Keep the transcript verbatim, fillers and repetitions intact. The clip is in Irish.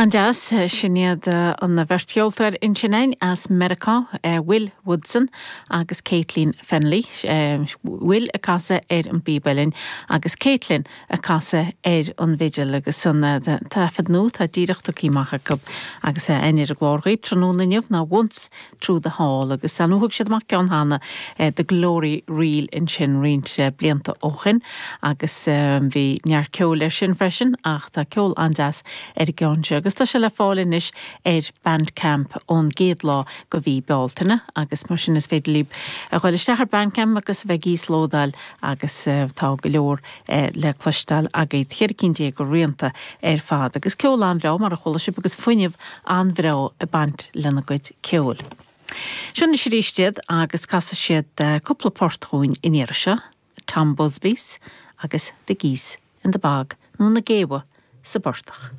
An-deas, sin iad an bheirt cheoltóir ansin as Meiriceá, Will Woodson agus Caitlin Fennelly. Will ag casadh ar an bpíob uilleann agus Caitlin ag casadh ar an bhfidil agus an taifead nua tá díreach tugtha amach acu agus é ar an gclár dhaoibh tráthnóna inniu ná Once Through the Hall agus an thug siad amach ceann cheana The Glory Reel ansin roinnt blianta ó shin agus bhí neart ceoil air sin freisin ach tá ceol an-deas ar an gceann seo agus tá sé le fáil anois ar Bandcamp ón gcéad lá de mhí Bealtaine agus mar sin is féidir libh a ghabháil isteach ar Bandcamp agus a bheith ag íoslódáil agus tá go leor le cloisteáil agaibh ceithre cinn déag de rianta ar fad agus ceol an-bhreá mar a chuala sibh agus fuinneamh an-bhreá ag baint lena gcuid ceoil. Seo anois arís iad agus casfaidh siad cúpla port dúinn an iarraidh seo, Tom Busby's agus The Geese in the Bog nó na géabha sa bportach.